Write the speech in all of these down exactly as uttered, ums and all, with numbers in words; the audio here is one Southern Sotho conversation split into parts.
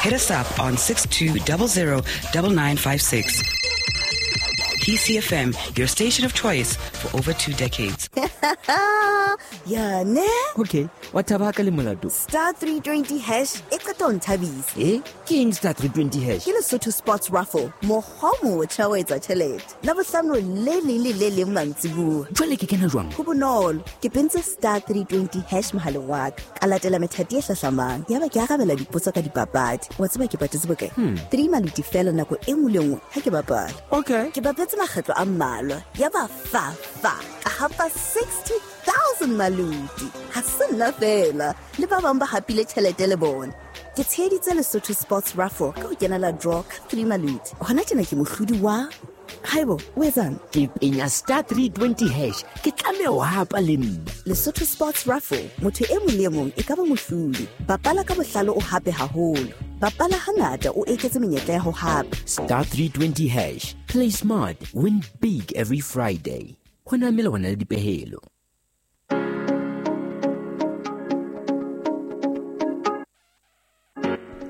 Hit us up on six two zero zero nine nine five six. T C F M, your station of choice for over two decades. Yeah, ne? Okay, what about le molato? Star three twenty hash e qeta ho nthabisa. Eh? Ke eng star three twenty hash? Ke Lesotho Sports Raffle. Mokgwa o motjha wa etsa tjhelete. Labohlano le leng le le leng mantsibuya. Jwale ke kena jwang? Ho bonolo. Ke pentse star three twenty hash mohaleng wa ka. Ka latela methati e hlahlamang. Yaba ke arabela dipotso ka dipapadi. Wa tseba ke patetse bokae? Hmm. Three maluti fela nako e nngwe le nngwe ha ke bapala. Okay. Ke bapetse makgetlo a mmalwa. Yaba fa fa. Ka hapa sixty thousand maluti. Ha se nna fela. Le ba bang ba hapile tjhelete le bona. Ke tsheheditse Lesotho Sports Raffle ka ho kenela draw ka three maluti. Hona tjena ke mohlodi wa Haibo, o etsang? Ke penya star three twenty hash. Ke tlameha ho hapa le nna. Lesotho Sports Raffle, motho e mong le e mong e ka ba mohlodi. Bapala ka bohlale o hape haholo. Bapala hangata o eketse menyetla ya ho hapa. Star three twenty hash. Play smart, win big every Friday. Ho na melawana le dipehelo.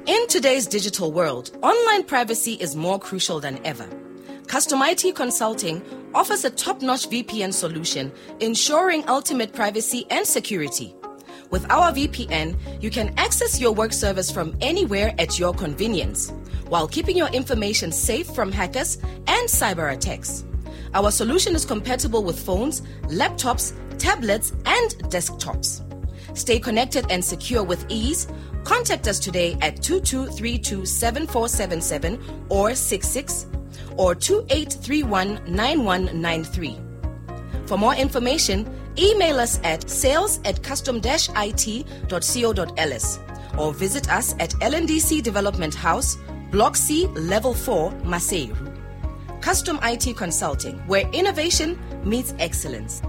In today's digital world, online privacy is more crucial than ever. Custom I T Consulting offers a top-notch V P N solution, ensuring ultimate privacy and security. With our V P N, you can access your work service from anywhere at your convenience, while keeping your information safe from hackers and cyber attacks. Our solution is compatible with phones, laptops, tablets, and desktops. Stay connected and secure with ease. Contact us today at two two three two seven four seven seven or six six or two eight three one nine one nine three. For more information, email us at sales at custom dash I T dot co dot L S or visit us at L N D C Development House, Block C, Level four, Maseru. Custom I T Consulting, where innovation meets excellence.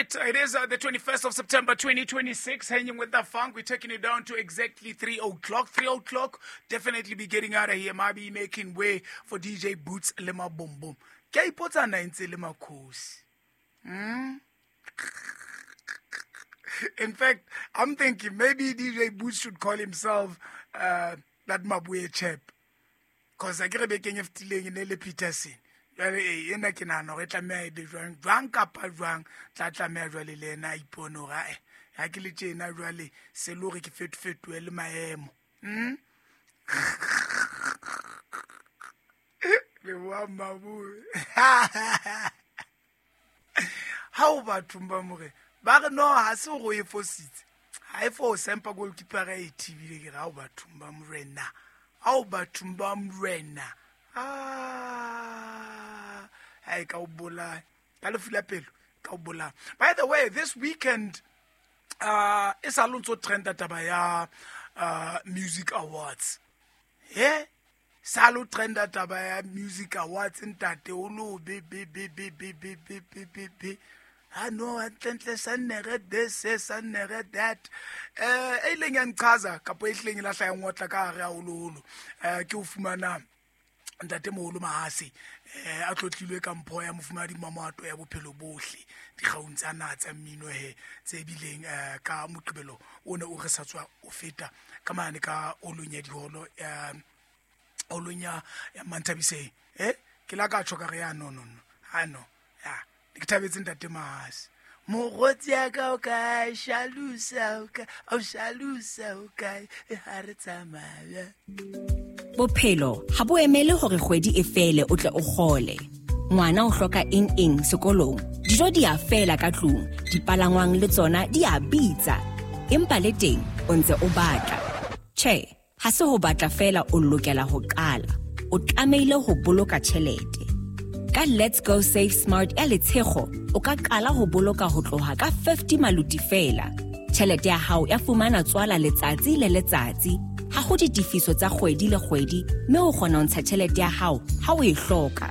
It is uh, the twenty-first of September twenty twenty-six, hanging with the funk. We're taking it down to exactly three o'clock. three o'clock, definitely be getting out of here. Might be making way for D J Boots Lema Boom Boom. Ke ipotsa na ntse le makhosi. Hmm? In fact, I'm thinking maybe D J Boots should call himself uh, that Mabuye chap. Because I get a feeling in Peterson. Jwale e ena ke nahana hore e tlameha e be jwang, jwang kapa jwang, tla tlameha jwale le ena a ipone hore ae, ha ke le tjena jwale se le hore ke fetofetohe le maemo. Hmm? Leboha Mabuye. Ha o bathong ba more, ba re no ha se hore o e fositse. Ha e fose empa goalkeeper e thibile ke re ha o bathong ba morena. Ha o bathong ba morena. Ah, hey, ka o bolaya. Ka lefu la pelo, ka o bolaya. By the way, this weekend, uh, e sa lo ntso trenda taba ya, uh, Music Awards. Yeah? Sa lo trenda taba ya Music Awards ntate o lo be be be be be be be be be be. Ah no, hantle sa nere this, sa nere that. Eh, e ileng ya nchaza kapo e hleng e lahla ya ngotla ka hare haholoholo. Eh, ke o fumana ntate moholo Mahase eh a tlotlilwe ka mpho ya mofumadi Mamato ya bophelo bohle dikgaung tsa naha tsa mmino he tse bileng eh ka Moqebelo o ne o re sa tswa o feta ka mane ka olong ya diholo ya olong ya Manthabiseng eh ke la ka tjho ka re ya no no no ha no ya ke thabetse ntate Mahase mogotsi ya ka o kae shalusa o kae o shalusa o kae ha re tsamaya. Bophelo ha bo emele hore kgwedi e fele o tle o kgole. Ngwana o hloka eng eng sekolong. Dijo di a fela ka tlung, dipalangwang le tsona di a bitsa. Empa le teng o ntse o batla. Tjhe, ha se ho batla fela o lokela ho qala. O tlamehile ho boloka tjhelete. Ka Let's Go Save Smart ya Letshego, o ka qala ho boloka ho tloha ka fifty maluti fela. Tjhelete ya hao ya fumana tswala letsatsi le letsatsi. Ha ho ditefiso tsa kgwedi le kgwedi, mme o kgona ho ntsha tjhelete ya hao ha o e hloka.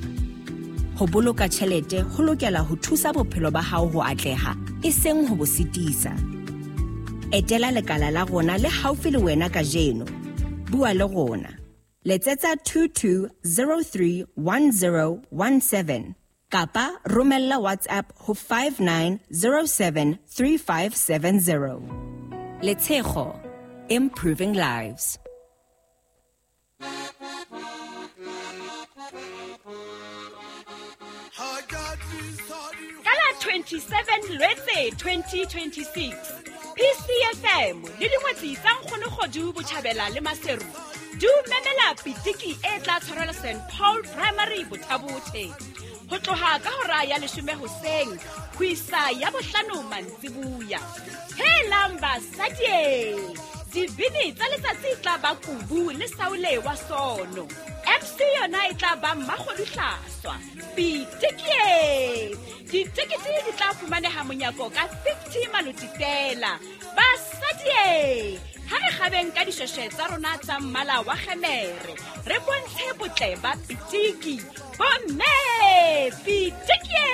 Ho boloka tjhelete ho lokela ho thusa bophelo ba hao ho atleha, e seng ho bo sitisa. Etela lekala la rona le haufi le wena kajeno. Bua le rona. Letsetsa two two zero three one zero one seven. Kapa romella WhatsApp ho five nine zero seven three five seven zero. Letshego, improving lives. Kala twenty-seven Lwetse twenty twenty-six, P C F M le dingwetsi tsa Nkgono Kgodu Botjhabela le Maseru di memela pitiki e tla tshwarelwa Saint Paul Primary Bothabothe ho tloha ka hora ya leshome hoseng ho isa ya bohlano mantsibuya. Helang basadi, dibini tsa letsatsi tla ba Kubu le Saule wa Sono. M C yona e tla ba Mmakgodu Hlaswa. Pitiki, ditekete di tla fumaneha monyako ka fifty maloti fela. Basadi, ha re kgabeng ka dishweshwe tsa rona tsa mmala wa kgemere, re bontshe botle ba pitiki. Bomme, pitiki!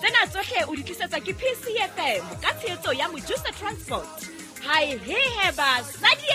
Tsena tsohle o di tlisetswa ke P C F M ka tshehetso ya Mojusa Transport. Hai he he basadi!